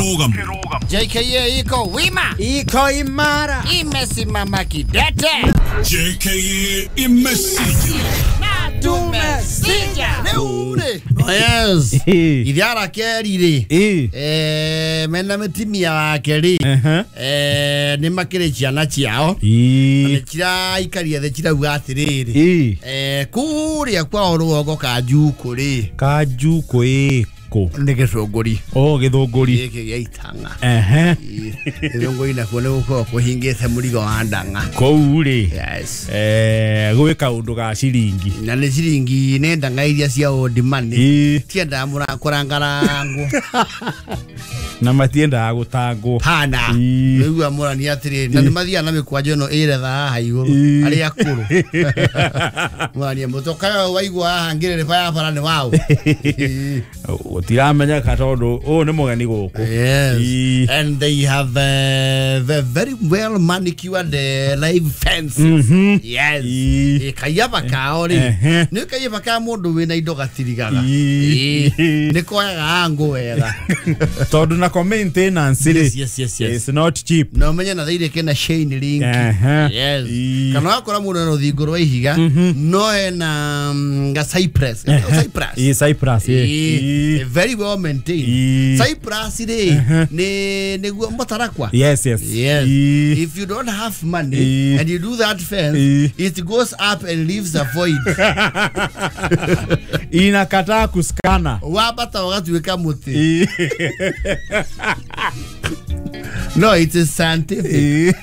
JKA iko wima, iko imara, imesimama kidete. JKA imesija na tumesija. Yes. Ithiara keri ri mena mitimia wake ri ni makiri ciana ciao ni ciraikaria thi cirauga atiriri kuria kwao rũgongo Kanjuku ri Kanjuku iko nĩ gĩcũngũri o gĩthũngũri gĩkĩ gĩa itang'a gĩthũngũri nakuo nĩ gũkorwo kũhingĩte mũrigo wa ndang'a kũu rĩ. Yes. Gwĩ kaũndũ ga ciringi na nĩ ciringi nĩ ndang'a iria cia old money tiendaga kũrangarangwo na matiendaga gũtangwo hana rĩu amũrani atĩrĩrĩ na nĩ mathiaga na mĩkwanjo ĩno ĩretha haha igũrũ arĩa akũrũ mũrani mũtoka waigua haha ngĩrĩrĩba ya bara nĩ waũ gũtiramenyeka tondũ ũyũ nĩ mũgeni gũkũ. Yes. And they have the very well manicured live fences. Yes. Kayaba kao rĩ nĩ kayaba ka mũndũ wĩna indo gatirigaga nĩ koyaga angũ wega tondũ na maintenance yes, yes, yes, yes. It's not cheap. No menye na thaire kena chain link. Yes. Kana wakora mũndũ na rũthingo rwa ihiga no hena ga cypress. Cypress. Cypress. Very well maintained. Cypress ri ni niguo mũtarakwa. Yes, yes. Yes. If you don't have money and you do that fence, it goes up and leaves a void. Inakataa kuskana. Wabata wagatuĩka mũtĩ. No, it is scientific.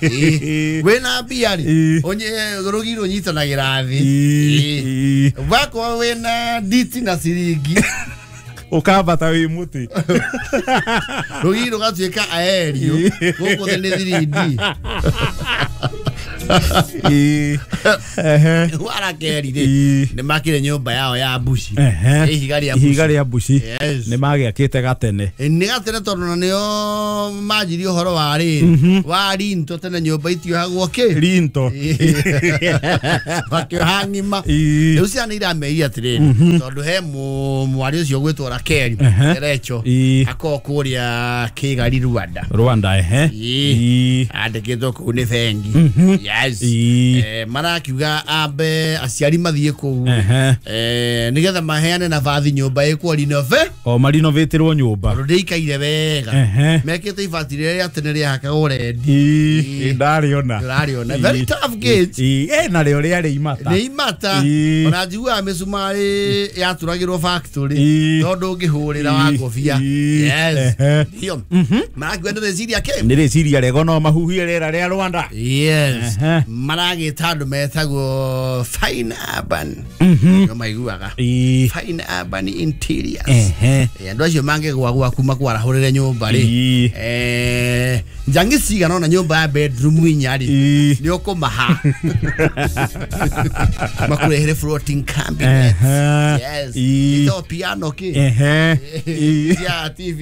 Wĩna mbia rĩ, rũgiri rũnyitanagĩra thĩ. Wakorwo wĩna nditi na ciringi ukambata wĩ mũtĩ rũgiri rũgatuĩka aerio gũkũ thĩ nĩ 3D. Warakeri rĩ nĩ makire nyũmba yao ya mbuci, ihiga rĩa mbuci nĩ magĩakĩte gatene nĩ gatene tondũ na nĩo manjirie ũhoro wa rĩrĩ wa rinto tene nyũmba itiohagwo kĩ rinto makĩoha ng'ima. Rĩu ciana irameria atĩrĩrĩ tondũ he mwarĩ ũcio ũgwĩtwo Rakeri Recho akorwo kũrĩa Kigali Rwanda andĩkĩtwo kũu nĩ bengi. Yes. Marakiuga ambe aciari mathiĩ kũu nĩgetha maheane nabathi nyũmba ĩkwo renove o marinovatirwo nyũmba tondũ ndĩikaire wega mekĩte ibati rĩrĩa rĩa tene rĩahakagwo rendi ndarĩona ndũrarĩona very tough gate narĩo rĩarĩ imata nĩ imata ona njiguaga mĩcumarĩ yaturagĩrwo factory tondũ ũngĩhũrĩra wa ngobia. Yes. Ndio marakiuga nĩ rĩciria kĩ nĩ rĩciria rĩega no mahuhie rĩera rĩa Rwanda. Yes. Maragĩta andũ metagwo Fine Urban no maiguaga Fine Urban Interiors. Andũ acio mangĩgwa gwaku makwarahũrĩre nyũmba rĩ njangi cigana ona nyũmba ya bedroom inya rĩ nĩ ũkũmaha makũrehere floating cabinet. Yes. Ito piano kĩ ya TV.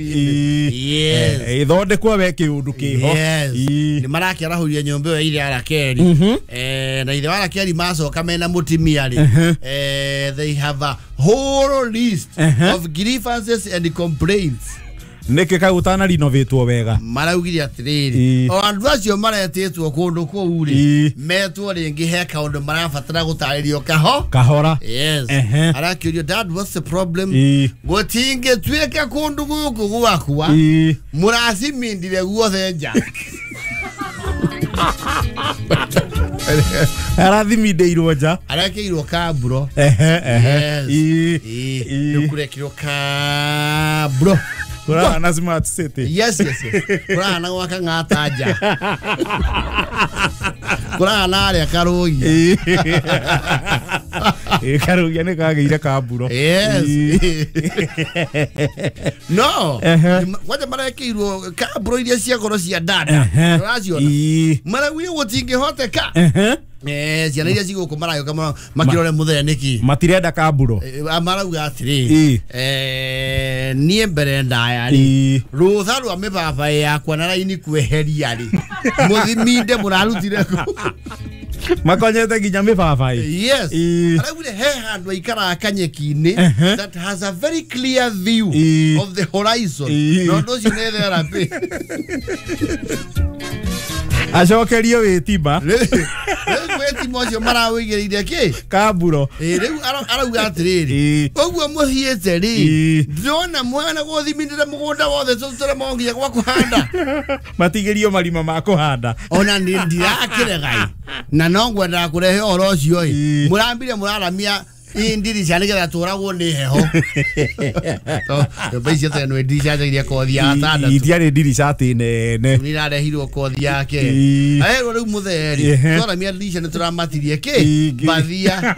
Yes. Ithondekwo we kĩũndũ kĩho. Yes. Nĩ marakĩarahũria nyũmba ĩyo ĩrĩa Rakeri na ithe wa Rakeri macoka mena mũtimia rĩ they have a whole list of grievances and complaints. Nĩkĩ kau ũtanarinovatwo wega maraugire atĩrĩrĩ o andũ acio maretĩtwo kũndũ kũu rĩ metwo rĩngĩ he kaũndũ marabatara gũtarĩrio kahora. Yes. Arakĩũrio dad what's the problem gũtingĩtuĩka kũndũ gũkũ gwakwa mũracimindire guothe nja. Arathimindĩirwo nja arekĩirwo kamburo. Nĩkũrekĩrwo kamburo kũrahana smart city. Yes, yes, yes. Kũrahana gwaka ng'ata nja kũrahana arĩa Karũgia. Karũgia nĩ kagĩire kamburo. Yes. No kwanja marekĩirwo kamburo iria cia goro cia dada ũraciona maraugire gũtingĩhoteka. Ciana iria cigũkũ maragĩũka makĩrore mũthee nĩkĩ matirenda kamburo marauga atĩrĩ niĩ mbere ndaya rĩ rũtha rwa mĩbabaĩ yakwa na raini kweheria rĩ mũthiminde mũrarutire kũ. Makonyete nginya mĩbabaĩ. Yes. Ĩĩ. Araugire he handũ aikaraga kanyeki-inĩ Ehe. that has a very clear view Ĩĩ. of the horizon. Ĩĩ. Na ũndũ ũcio nĩ therapy. Acokerio wĩtimba. Rĩu wĩtima ũcio marawĩigĩrĩire kĩ? Kamburo. Ĩĩ, rĩu arauga atĩrĩrĩ, Ĩĩ. ũguo mũthiĩte rĩ, Ĩĩ. ndĩrona mwana gũthimindĩra mũgũnda wothe tũtũremwo nginya gwa kũhanda. Matigĩrio marima ma kũhanda. Ona nĩ ndirakĩregai na no ngwendaga kũrehe ũhoro ũcio ĩ, Ĩĩ. mũrambire mũraramia ndirica nĩgetha tũragwo nĩ heho. Nyũmba icio tene nĩ ndirica njagĩrĩire kothi ya gatandatũ. Itiarĩ ndirica atĩ nene. Nĩ irarehirwo kothi yake. Ĩĩ. Aherwo rĩu mũtheri Ehe. twaramia ndirica nĩ tũramatirie kĩ? Ĩĩ. Mbathia.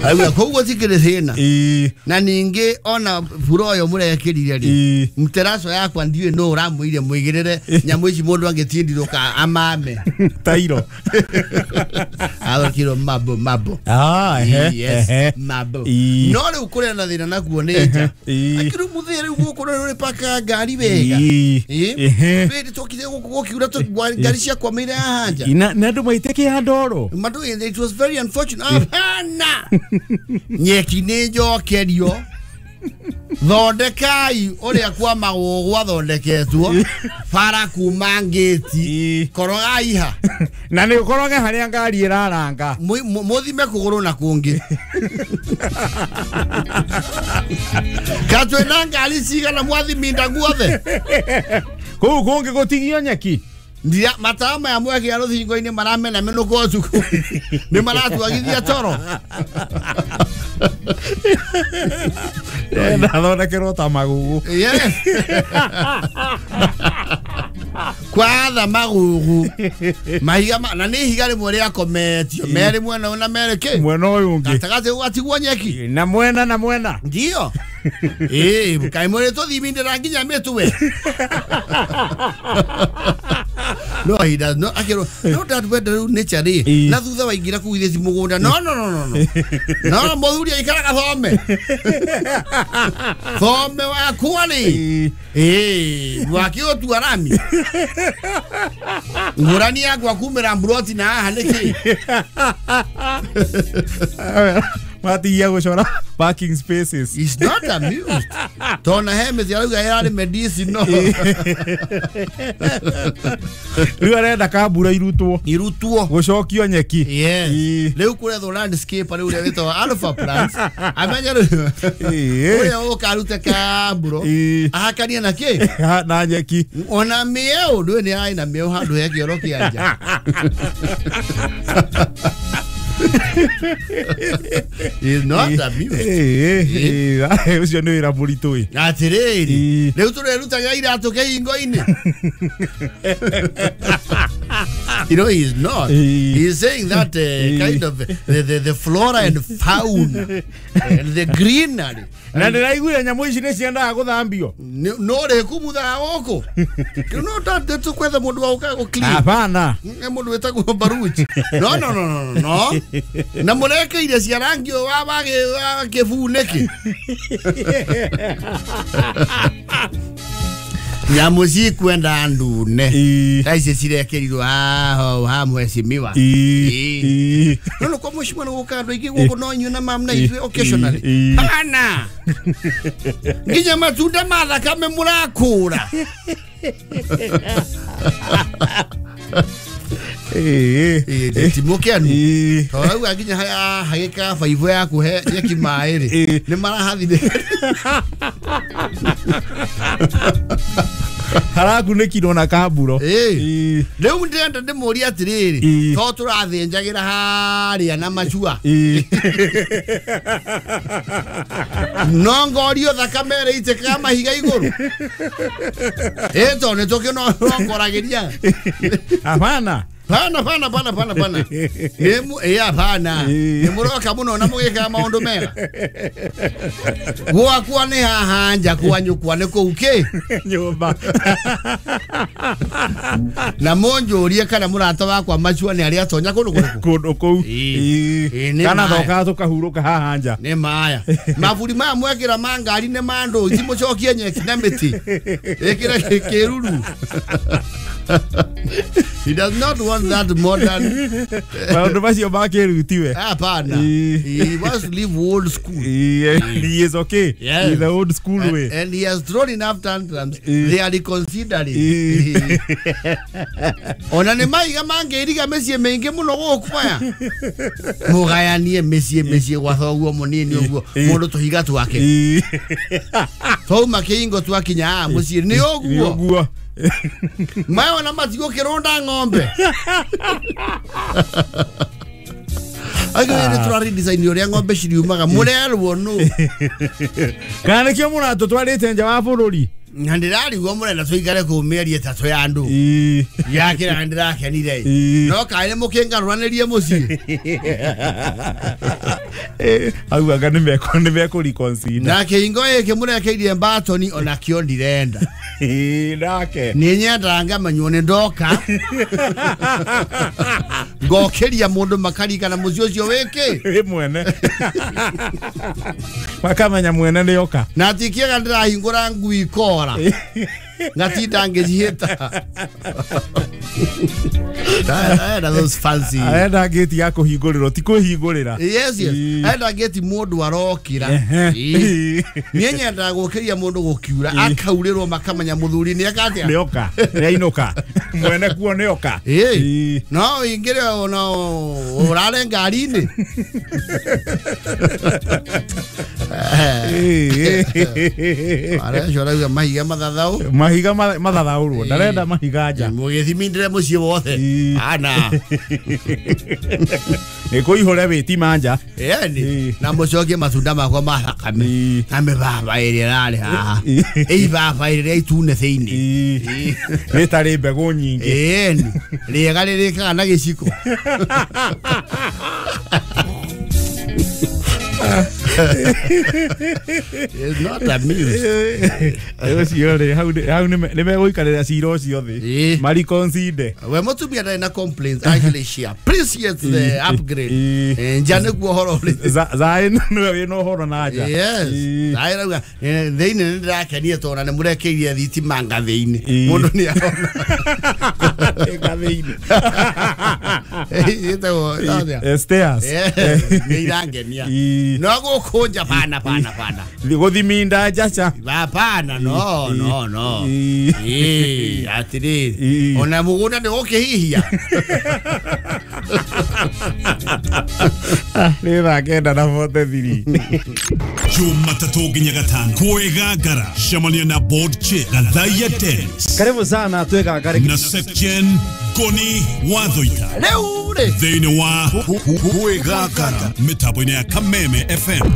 Arauga koguo tikĩrĩ thĩna. Ĩĩ. Na ningĩ ona bura ũyũ mũrekĩrire rĩ, Ĩĩ. mteraco yakwa ndiũĩ nũ ũramwĩire mũigĩrĩre nyamũ ici mũndũ angĩtindirũka amame. Tairo. Athokirwo mabo mabo. Ah, ehe. Yes, Ehe. mabo. Ĩĩ. No rĩu kũrĩa na thĩna nakuo nĩ nja. Ĩĩ. Akĩrĩ mũthĩ rĩu gũkũ nĩ ũrĩpakaga ngari wega. Ĩĩ. Ĩĩ. Ehe. Rĩrĩ twokire gũkũ gũkiura ngari ciakwamĩire haha nja. Na andũ maitĩkĩa ndoro. Madu, it was very unfortunate. Hapana. Nyeki nĩ njokerio. Thondekai ũrĩa kwa magũgũ gwathondeketwo. Bara kuma ngĩti. Ĩĩ. Korogai ha. Na nĩ ũkoroge harĩa ngari ĩraranga. Mũthime kũgũrũ na kũngĩ. Ka twĩna ngari cigana mwathiminda guothe. Kũu kũngĩ gũtigio nyeki. Ndira matawa maya mwekĩra rũthingo-inĩ maramena mĩnũko ũtukũ. Nĩ maratwagithia toro. Ndathondekerwo ta magugu. Yes. Kwatha magugu. Mahiga na nĩ ihiga rĩmwe rĩakometio merĩ mwena ũyũ na merĩ kĩ? Mwena ũyũ ũngĩ. Gatagatĩ gũgatigwo nyeki. Na mwena na mwena. Ndio. Ĩĩ, kaĩ mũrĩ tũthimindĩra nginya mĩtwe. No, he does not. Akĩrwo, no that wenda rĩu nature rĩ, Ĩĩ. na thutha waingĩra kũu githĩ ti mũgũnda. No, no, no, no, no. No, mũthuri aikaraga thome. Thome wakwa rĩ. Ĩĩ. Ĩĩ, wakĩũtua rami. Ngũrani yakwa kumĩra mburoti na haha nĩkĩ? Matigia gũcora parking spaces. He's not amused. Tona he mĩtĩ arauga ĩrarĩ medicinal. Rĩu arenda kambura irutwo. Irutwo. Gũcokio nyeki. Yes. Ĩĩ. Rĩu kũrethwo landscape rĩu ũrĩa wĩtagwo Alpha Plants. Amenye rĩu. Ĩĩ. Ũrĩa ũka arute kamburo. Ĩĩ. Ahakanie na kĩ? Na nyeki. Ona mĩeũ ndũĩ nĩ arĩ na mĩeũ handũ he kĩoro kĩa nja. He's not amused. Ĩĩ, ĩĩ, ũcio nĩ wĩra mũritũ ĩ. Atĩrĩrĩ, Ĩĩ. rĩu tũrerutaga iratũ kĩhingo-inĩ. You know, he's not. Ĩĩ. He's saying that kind of the flora and fauna and the greenery. Na ndĩraiguire nyamũ ici nĩ ciendaga gũthambio. No rĩkumuthaga gũkũ. No tũkwetha mũndũ wa gũka gũ-clean. Hapana. Nĩ mũndũ wĩtagwo Baruch. No, no, no, no, no. Na mũrekeire cia rangi ũyũ wa kĩbuu nĩkĩ? Nyamũ cikwenda ndune. Ĩĩ. Ta ici cirekerirwo haha ha mheshimiwa. Ĩĩ. Ĩĩ. Ĩĩ. No no kwa mheshimiwa nĩ gũka andũ aingĩ gũkũ no inyuĩ na mam na ithuĩ occasionally. Ĩĩ. Hana. Nginya matunda ma thakame mũrakũra. Ĩĩ. Ĩĩ, ti mũkenu. Ĩĩ. Tondũ rauga nginya hagĩka baibũ ya kũhe nyeki maĩ rĩ, Ĩĩ. nĩ marahathire. Harakunĩkirwo na kamburo. Ĩĩ. Ĩĩ. Rĩu ndĩrenda ndĩmũrie atĩrĩrĩ, Ĩĩ. to tũrathĩnjagĩra harĩa na macua. Ĩĩ. No ngorio thakame ĩrĩitĩkaga mahiga igũrũ. Ĩĩ, tondũ nĩ tũkĩnongoragĩria. Hapana. Pana pana pana pana pana. Nemu ya pana. Ni muroka muno na mugika maundu mega. Gwakwa ni haha nja kwa nyukwa ni kuu ki nyumba. Na munjurie kana murata wakwa macua ni aria atonya kundu kuriku. Kundu kuu. Kana thoka tukahuruka haha nja. Ni maya. Maburi maya mwekira mangari ni mandu cimucokie nyeki na miti. Ikira kiruru. He does not want that modern. Maundu macio ma kĩrutiwe. Hapana. He wants to live old school. He is okay. Yes. In the old school way. And he has thrown enough tantrums. They are reconsidering. Ona nĩ maiga mangĩiriga mĩciĩ mĩingĩ mũno gũkũ maya. Mũgayanie mĩciĩ mĩciĩ gwa thoguo mũnini ũguo mũndũ tũhiga twake. Twauma kĩingo twakinya haha mũciĩ nĩ ũguo. Ũguo. Mayo na matigo kironda ng'ombe. Ayo ni turari design uria ng'ombe ciriumaga murerwo nu. Kana nikio muratutwarite nja wa bururi. Na ndirarigwo murenda tuikare kuu mĩeri ĩtatũ ya andũ. Yakĩra ndĩrakenire. No kaĩ mũkĩngarũranĩrie mũciĩ. Hau anga nĩ mekũreconsider. Na kĩhingo gĩkĩ mũrekeirie mbatoni onakĩo ndirenda. Nake. Nĩ nyendaga ngamanywo nĩ ndoka. Ngokĩria mũndũ makarikana mũciĩ ũcio wĩkĩ. Wĩ mwene. Makamenya mwene nĩ oka. Na ti kĩega ndĩrahingũra ngui kora. Ngatinda ngĩcihĩta. Arenda those fancy. Arenda gate ya kũhingũrĩrwo ti kwĩhingũrĩra. Yes, yes. Arenda gate mũndũ arokĩra. Niĩ nyendaga gũkĩria mũndũ gũkiura akaurĩrwo makamenya mũthuri nĩ eka atĩa. Nĩ oka. Nĩ ainũka. Mwene kuo nĩ oka. No ingĩre ona ũrare ngari-inĩ. Arecio arauga mahiga mathathaũ. Mahiga mathathaũrwo. Ndarenda mahiga nja. Mũgĩthimindĩre mũciĩ wothe. Ana. Nĩ kũihũre wĩtima nja. Ĩni. Na mũcokie matunda makwa ma thakame. Na mĩbaba ĩrĩa ĩrarĩ haha. Ĩibaba ĩrĩa itune thĩinĩ. Rĩtarĩ mbegũ nyingĩ. Ĩni. Rĩega rĩrĩkaga na gĩciko. It's not amused. Ũcio rĩ hau nĩ megũikarĩra cira ũcio thĩ. Mariconsider. We mũtumia ndarĩ na complaints. Actually she appreciates the upgrade. Nja nĩguo ũhoro ũrĩ. Zaĩ nĩwe wĩna ũhoro na nja. Yes. Zaĩ rauga thĩinĩ nĩ ndĩrakenire tondũ nĩ mũrekeirie thitima ngathĩ-inĩ. Mũndũ nĩ arona. Ngathĩ-inĩ. Ĩtagwo atĩa? Stairs. Nĩ irangenia. No gũkũ nja pana pana pana. Gũthiminda njaca. Hapana no no no. Atĩrĩrĩ. Ona mũgũnda nĩ gũkĩhihia. Nĩ thaa 9:43. Jumatatu nginya gatano kwĩgangara cemania na board chair Gathaia Dennis. Karibu sana twĩgangare na section Goni Wathoita. Rĩu rĩ thĩinĩ wa kwĩgangara mĩtambo-inĩ ya Kameme FM.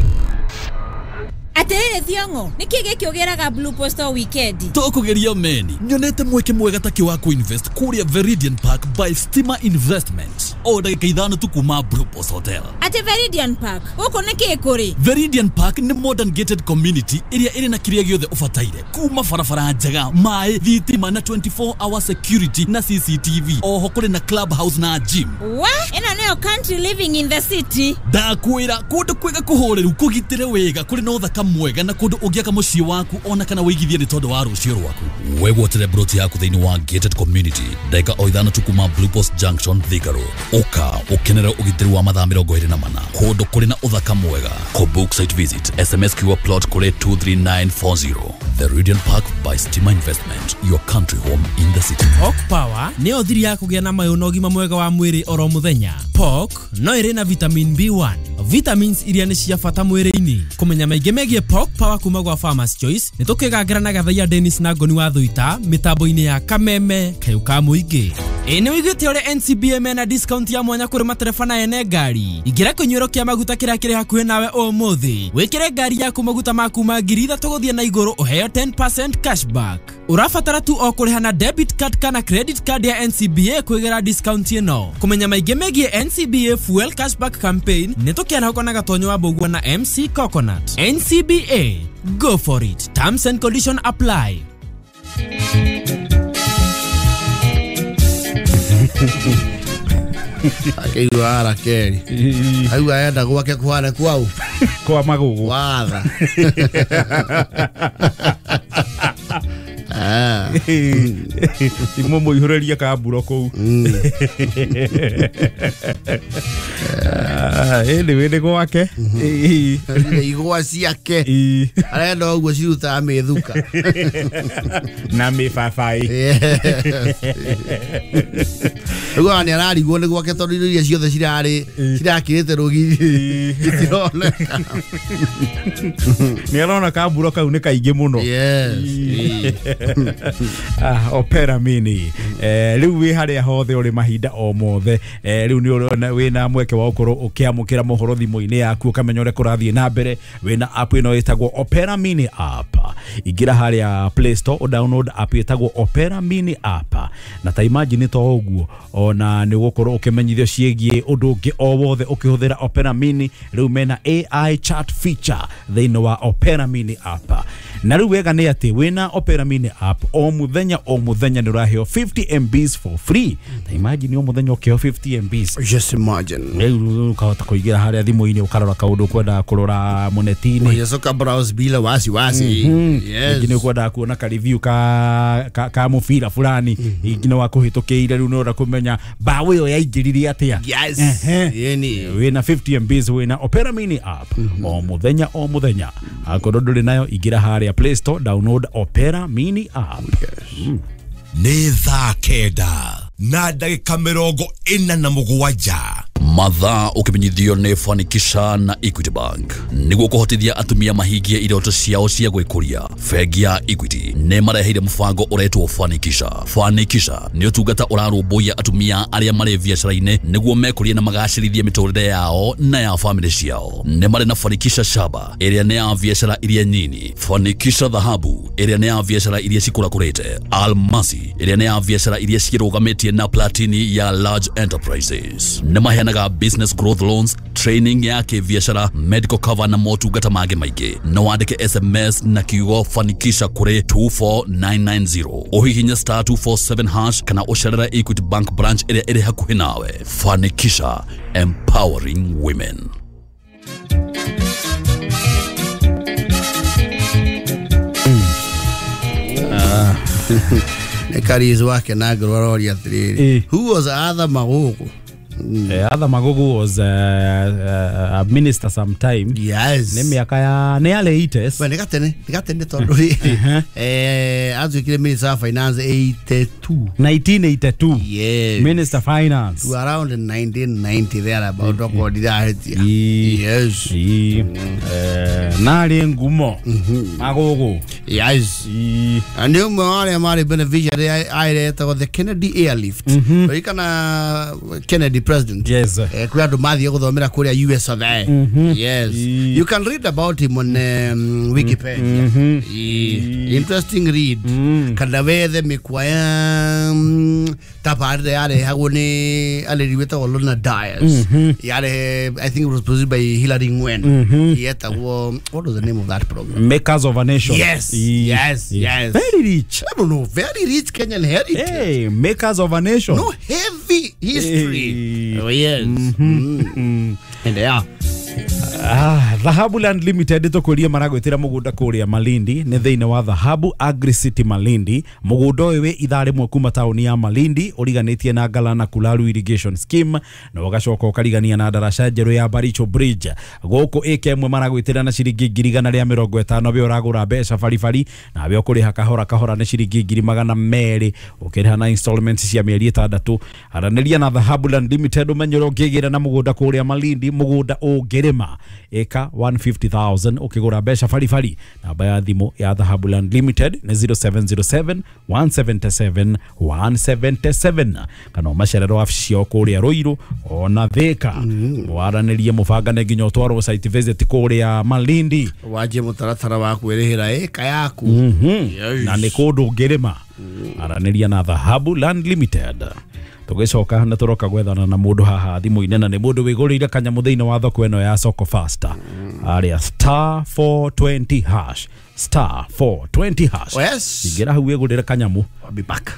Atiriri Thiongo, niki giki ugeraga Blue Post weekend? Tukugeria meni nyonete mweke mwega taki wa kuinvest kuria Veridian Park by Stima Investments. O ndagika ithano tu kuma Blue Post Hotel. Ati Veridian Park guku niki kuri? Veridian Park ni modern gated community iria iri na kiria giothe ubataire kuma barabara njega, mai, thitima na 24 hour security na CCTV. Oho kuri na club house na gym. Wa ino niyo country living in the city. Ndakwira kundu kwega kuhoreru kugitire wega kuri na uthaka mwega na kundu ungiaka mucii waku ona kana wigithie ni tondu wa rucio rwaku. Wegwatire broti yaku thiini wa gated community ndagika o ithano tu kuma Blue Post Junction Thika Road. Uka ukenere ugitiri wa mathaa 24 kundu kuri na uthaka mwega. Book site visit SMS QR plot kuri 23940. Veridian Park by Stima Investment, your country home in the city. Pork Power nĩyo thiri ya kũgĩa na mayũ na ũgima mwega wa mwĩrĩ oro mũthenya. Pork no ĩrĩ na vitamin B1, vitamins iria nĩ cia bata mwĩrĩ-inĩ. Kũmenya maingĩ megiĩ Pork Power kuma gwa Farmers Choice nĩ tũkĩgangĩra na Gathaia Dennis na Ngoni wa Thuita mĩtambo-inĩ ya Kameme kayũ ka mũingĩ. Ĩ nĩ wĩiguĩte ũrĩa NCBA mena discount ya mwanya kũrĩ matereba na ene ngari. Ingĩra kĩnyuĩro kĩa maguta kĩrĩa kĩrĩ hakuhĩ nawe ũmũthĩ. Wĩkĩre ngari yaku maguta ma kuma 3,000 gũthiĩ na igũrũ ũheo 10% cashback. Ũrabatara tu o kũrĩha na debit card kana credit card ya NCBA kwĩgĩra discount ĩno. Kũmenya maingĩ megiĩ NCBA Fuel Cashback Campaign nĩ tũkĩarahũka na Gatonyo wa Mbũgua na MC Coconut. NCBA, go for it. Terms and condition apply. Akĩigua arakeri aigua enda gwake kũhana kwau kwa magugu watha. Imwe mũihũrĩrie kamburo kũu. Ĩndĩ wĩndĩ gwake igwa ciake arenda ũguo cirutaga mĩthuka na mĩbabaĩ. Rĩu nĩ ararigwo nĩ gwake tondũ indo iria ciothe cirarĩ cirakĩrĩte rũgiri itironeka. Nĩ arona kamburo kau nĩ kaingĩ mũno. Opera Mini rĩu wĩ harĩa hothe ũrĩ mahinda o mothe, rĩu nĩ ũrona wĩna mweke wa gũkorwo ũkĩamũkĩra mohoro thimũ-inĩ yaku ũkamenya ũrĩa kũrathiĩ na mbere. Wĩna app ĩno ĩtagwo Opera Mini app. Ingĩra harĩa Play Store o download app ĩtagwo Opera Mini app, na ta imagine to ũguo ona nĩ ũgũkorwo ũkĩmenyithio ciĩgiĩ ũndũ ũngĩ o wothe ũkĩhũthĩra Opera Mini. Rĩu mena AI chat feature thĩinĩ wa Opera Mini app, na rĩu wega nĩ atĩ wĩna Opera Mini app o mũthenya nĩ ũraheo 50 MBs for free. Ta imagine o mũthenya ũkĩheo 50 MBs. Just imagine. Rĩu ũkahota kũingĩra harĩa thimũ-inĩ ũkarora kaũndũ ũkwendaga kũrora mũneti-inĩ. Unaweza browse bila wasiwasi. Yes. Ingĩ nĩ ũkwendaga kuona ka review ka mũbira fulani, ingĩ nĩ wakũhĩtũkĩire, rĩu nĩ ũrenda kũmenya mbaũ ĩyo yaingĩrire atĩa. Yes. Yeni. Wĩna 50 MBs wĩna Opera Mini app o mũthenya o mũthenya. Akorwo ndũrĩ nayo ingĩra harĩa Play Store download Opera Mini app. Nĩ thaa 9:47. Mathaa ũkĩmenyithio nĩ Fanikisha na Equity Bank nĩguo kũhotithia atumia mahingie iroto ciao cia gwĩkũria. Bengi ya Equity nĩ mareheire mũbango ũretwo Fanikisha. Fanikisha nĩ ũtungata ũrarũmbũiya atumia arĩa marĩ biacara-inĩ nĩguo mekũrie na magacĩrithie mĩtũrĩre yao na ya famĩlĩ ciao. Nĩ marĩ na Fanikisha Shaba ĩrĩa nĩ ya biacara iria nyini, Fanikisha Dhahabu ĩrĩa nĩ ya biacara iria cikũrakũrĩte, Almasi ĩrĩa nĩ ya biacara iria cirũgamĩtie na Platini ya large enterprises. Nĩ maheanaga business growth loans, training ya kĩbiacara, medical cover na motungata mangĩ maingĩ. No wandĩke SMS na kiugo Fanikisha kũrĩ 24990, ũhihinye star 247 hash kana ũcerere Equity Bank branch ĩrĩa ĩrĩ hakuhĩ nawe. Fanikisha, empowering women. Nĩ Karizu wake na ngoro aroria atĩrĩrĩ, who was Arthur Magogo? Arthur Magogo was a minister sometime. Yes. Nĩ mĩaka ya nĩ early 80s. We nĩ gatene tondũ rĩrĩ atuĩkire minister of finance 82. 1982. Yes. Minister finance. To around 1990 there about okorwo ndirahĩtia. Yes. Narĩ ngumo Magogo. Yes. Na nĩ ũmwe wa arĩa marĩ beneficiary aĩretagwo the Kennedy Airlift. Ririkana Kennedy president. Yes. Kũrĩ andũ mathiĩ gũthomera kũrĩa US of A. Yes. You can read about him on Wikipedia. Interesting read. Kana wethe mĩkwa ya tabarĩra yarehagwo nĩ arĩri wĩtagwo Lorna Dyers. Yare, I think it was produced by Hilary Ngwen. Yetagwo, what was the name of that program? Makers of a Nation. Yes. Yes. Yes. Very rich. I don't know. Very rich Kenyan heritage. Hey, Makers of a Nation. No heavy history. Hey. Oh, yes. And yeah. Dhahabu Land Limited tũkũrie maragwĩtĩra mũgũnda kũrĩa Malindi nĩ thĩinĩ wa Dhahabu Agri City Malindi. Mũgũnda ũyũ wĩ ithaa rĩmwe kuma taũni ya Malindi, ũriganĩtie na Galana Kulalu Irrigation Scheme na ũgacoka ũkarigania na ndaraca njerũ ya Baricho Bridge. Gũkũ ĩka ĩmwe maragwĩtĩra na ciringi 150,000 we ũragũra mbeca baribari na we ũkũrĩha kahora kahora nĩ ciringi 200,000 ũkĩrĩha na installments cia mĩeri 6. Aranĩria na Dhahabu Land Limited ũmenye ũrĩa ũngĩgĩra na mũgũnda kũrĩa Malindi, mũgũnda ũngĩrĩma Ĩka 150,000 ũkĩgũra mbeca baribari. Namba ya thimũ ya Dhahabu Land Limited nĩ 0707 177 177, kana ũmacerere wabici ciao kũrĩa Ruiru ona Thika, mwaranĩrie, mũbangane nginya ũtwarwo site visit kũrĩa Malindi. Wanjie mũtaratara wa kwĩrĩhĩra ĩka yaku. Yes. Na nĩ kũndũ ũngĩrĩma, aranĩria na Dhahabu Land Limited. Tũgĩcoka nĩ tũroka gwethana na mũndũ haha thimũ-inĩ, na nĩ mũndũ wĩgũrĩire kanyamũ thĩinĩ wa thoko ĩno ya Soko Fasta arĩa star 420 hash, star 420 hash. Oh, yes. Ingĩra hau wĩgũrĩre kanyamũ. I'll be back.